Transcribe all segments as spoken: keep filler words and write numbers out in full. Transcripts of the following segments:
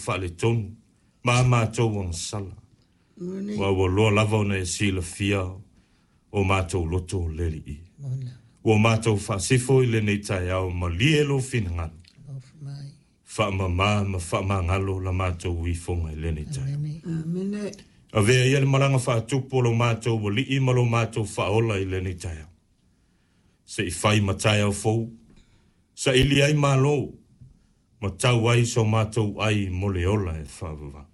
faaletonu ma a matou agasala. Ua ua loa lava ona e silafia o matou loto le Alii. Ua matou faasifo i lenei taeao malie lou finagalo. Faamama ma faamagalo la matou ifoga i lenei taeao. Avea ia le malaga faatupu o lo matou alii ma lo matou faaola i lenei taeao. Se i fai ma taeao fou, saili ai malo, ma tau ai so matou ai mo le ola e faavavau.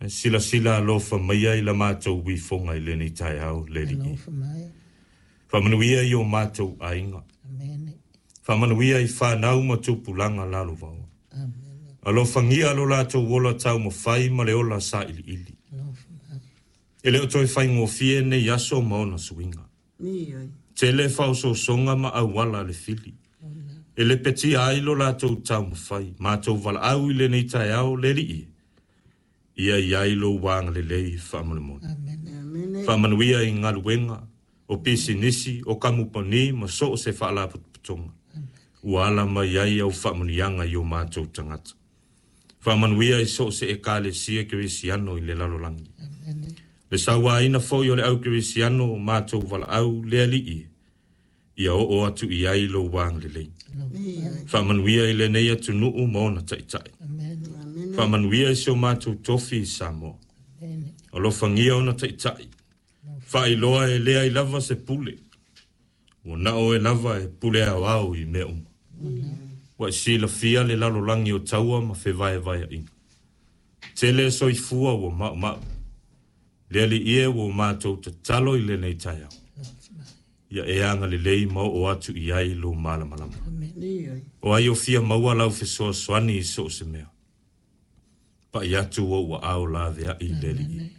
Silasila alofa mai ai la matou ifoga i lenei taeao le Alii. Faamanuia i o matou aiga. Faamanuia i fanau ma tupulaga lalovaoa. Alofagia lo latou ola taumafai ma le ola sailiili. E le o toe faigofie nei aso ma ona suiga. Tele faaosoosoga ma auala le fili. E lepetia ai lo latou taumafai, matou valaau i lenei taeao le Alii. Ia i ai lou agalelei faamolemole. Faamanuia i galuega, o pisinisi, o kamupani ma so o se faalapotopotoga. Ua ala mai ai au faamanuiaga i o matou tagata. Faamanuia i so o se ekalesia kerisiano i le lalolagi. Le sauaina foi o le au kerisiano o matou valaau le Alii. Ia oo atu i ai lou agalelei. Faamanuia i lenei atunuu ma ona taitai. Faamanuia i si o matou tofi i Samoa. Alofagia ona taitai. Faailoa e leai lava se pule. Ua na o e lava e pule aoao i mea uma. Ua e silafia le lalolagi o taua ma fevaevaeaiga. Tele soifua ua maumau. Le Alii e ua matou tatalo i lenei taeao. Ia e agalelei ma oo atu i ai lou malamalama. O ai o fia maua lau fesoasoani i so o se mea. Pai atu ou aao laveai i le Alii.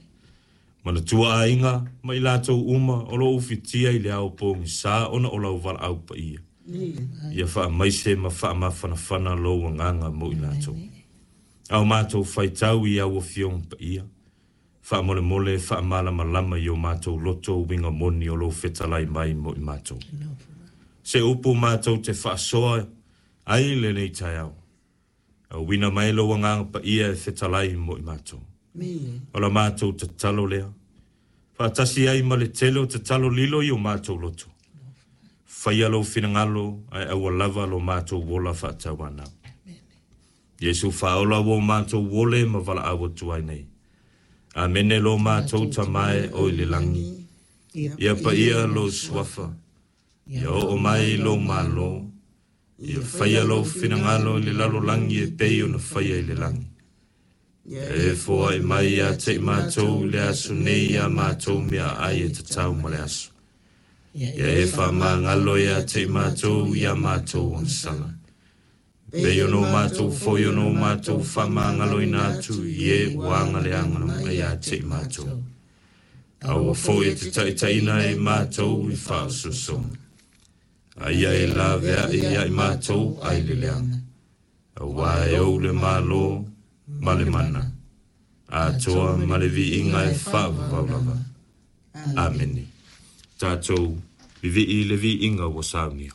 Manatua aiga ma i latou uma o lo o ufitia i le ao pogisa ona o lau valaau paia. Ia faamaise ma faamafanafana lou agaga mo i latou. Ao matou faitau i au afioga paia. Faamolemole faamalamalama i o matou loto uiga moni o lou fetalai mai mo i matou. Se upu matou te faasoa ai lenei taeao. Auina mai lou agaga paia e fetalai mo i matou. O la matou tatalo lea. Faatasi ai ma le tele o tatalo lilo i o matou loto. Faia lou finagalo ae aua lava lo matou ola faatauanau. Iesu faaola ua matou ole ma valaau atu ai nei. Amene lo matou Tama e o i le lagi. Ia paia lou suafa. Ia oo mai lou malo. Ia faia lou finagalo i le lalolagi e pei ona faia i le lagi. Ia e foai mai ia te i matou i le aso nei ia matou meaai e tatau ma le aso. Ia e faamagalo ia te i matou ia matou agasala. Pei ona o matou foi ona o matou faamagaloina atu i e ua agaleagala mai ia te i matou. Aua foi e te taitaiina e matou i faaosoosoga. A ia e laveai ia i matou ai le leaga. Auā e ou le malo ma le mana. Atoa ma le viiga e faavavau lava. Amene. Tatou vivii le viiga ua saunia.